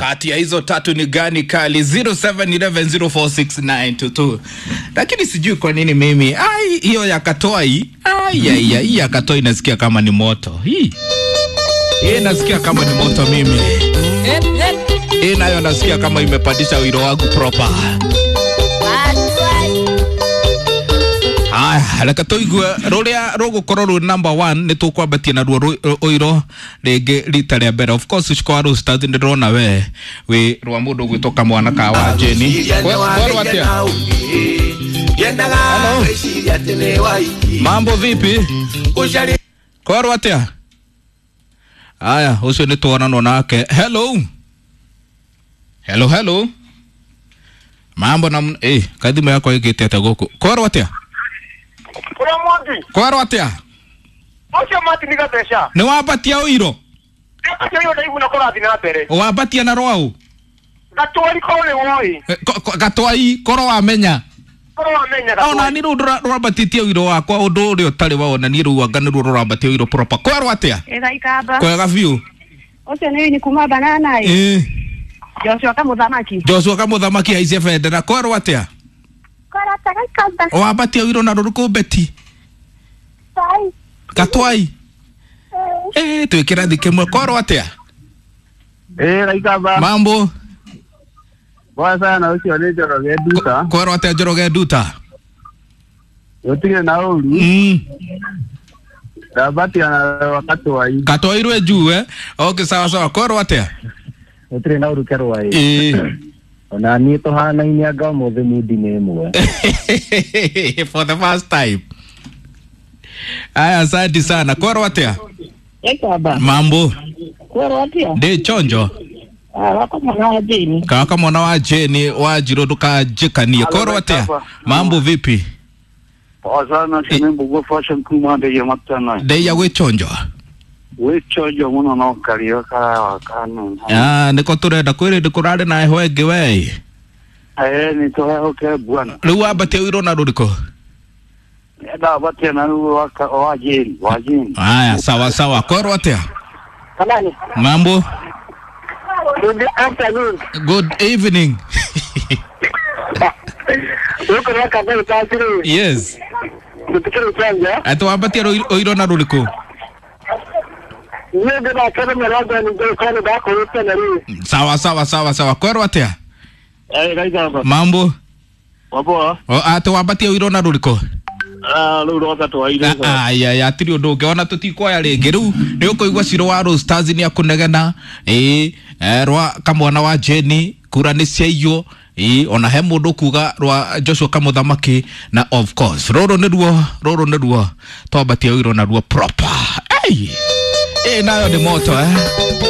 Kati ya hizo tatu ni gani kali? 0711046922. Lakini sijui kwa nini mimi ai hiyo ya Katoi, ai ai ai ya Katoi nasikia kama ni moto. Hii. Hii nasikia kama ni moto mimi. Hii nayo nasikia kama imepandisha wiro wangu proper. Aya, reke tũigue rũrĩa rũgũkorwo rwĩ number 1 nĩ tũkwambatia naruo ũiro rĩngĩ rita rĩa mbere. Of course ũciko wa Roasters nĩ ndĩrona we wĩ rwa mũndũ ũgwĩtwo kamwana ka wa Jeni. Kwerwo atĩa? Hello. Mambo vipi? Kwerwo atĩa? Aya, ũcio nĩ tuonanwo nake. Hello. Hello, hello. Mambo na kathimũ yakwa ĩkĩte atĩa gũkũ? Kwerwo atĩa? Ũrĩa Mwangi. Kwerwo atĩa? Ũcio Martin Gatheca. Nĩ wambatia ũiro? Wambatia ũiro ndaigu na kũrathiĩ na mbere. Wambatia na rwaũ? Gatwai korwo nĩ woĩ. Gatwai korwo wamenya. Korwo wamenya gatwai. Ona niĩ rĩu ndũrambatĩtie ũiro wakwa ũndũ ũrĩa ũtarĩ waona niĩ rĩu anga nĩruo rũrambatia ũiro proper. Kwerwo atĩa? Ĩga ikamba. Kwega biũ. Ũcio nĩ ni kuma banana ĩ. Joshua kamũthamaki. Joshua kamũthamaki haicia bendera. Kwerwo atĩa? Wambatia ũiro na rũrũkũ Beti? Gatwai. Twĩ kĩrathi kĩmwe. Kwerwo atĩa? Raikaba. Mambo. Poa sana, ũcio nĩ Njoroge Nduta. Kwerwo atĩa Njoroge Nduta? Gũtirĩ na ũru. Ndambatia na Gatwai. Gatwai rwĩ juu eh? Okay, sawa sawa. Kwerwo atĩa? Gũtirĩ na ũru Kerwai. Ona niĩ tũhanaine anga ũmũthĩ mundi nĩ ĩmwe. For the first time. Aya, asante sana. Kwerwo atĩa? Ekaba. Mambo. Kwerwo atĩa? Ndĩ chonjo. Wako mwana wa Jeni. Kaka mwana wa Jeni wa Njirũ ndũkanjĩkanie. Kwerwo atĩa? Mambo vipi? Poa sana, cine mbugua fashion kuma ndeia matana. Ndeia gwĩ chonjo. Gwĩ chonjo mũno no kario karawakana. Ah, nĩko tũrenda kwĩrĩ ndĩkũrarĩ na heho ĩngĩ we. Nĩ tũhehoke bwana. Rĩu wambatia ũiro na rũrĩkũ? Ndambatia na rũu wa Jeni, wa Jeni. Aya, sawa sawa. Kwerwo atĩa? Kanani. Mambo. Good afternoon. Good evening. Uko na kazi utaziri. Yes. Tutikiri chanja. Ati wambatia ũiro na rũrĩkũ? Niĩ ndĩrakena mĩrango nĩ ngũkana ndakũrĩte na rĩu. Sawa sawa sawa sawa. Kwerwo atĩa? Raikaba. Mambo. Wapoa. Ati wambatia ũiro na rũrĩkũ? Rĩu rwa Gatwai rĩu. Aya, atirĩ ũndũ ũngĩ ona tũtikuoya rĩngĩ rĩu nĩ ũkũigua Ciro wa Roasters nĩ akũnegena rwa kamwana wa Jeni kura nĩ ciaiywo ona he mũndũ kuga rwa Joshua kamũthamaki na of course rũrũ nĩruo twambatia ũiro naruo proper. Nayo nĩ moto eh.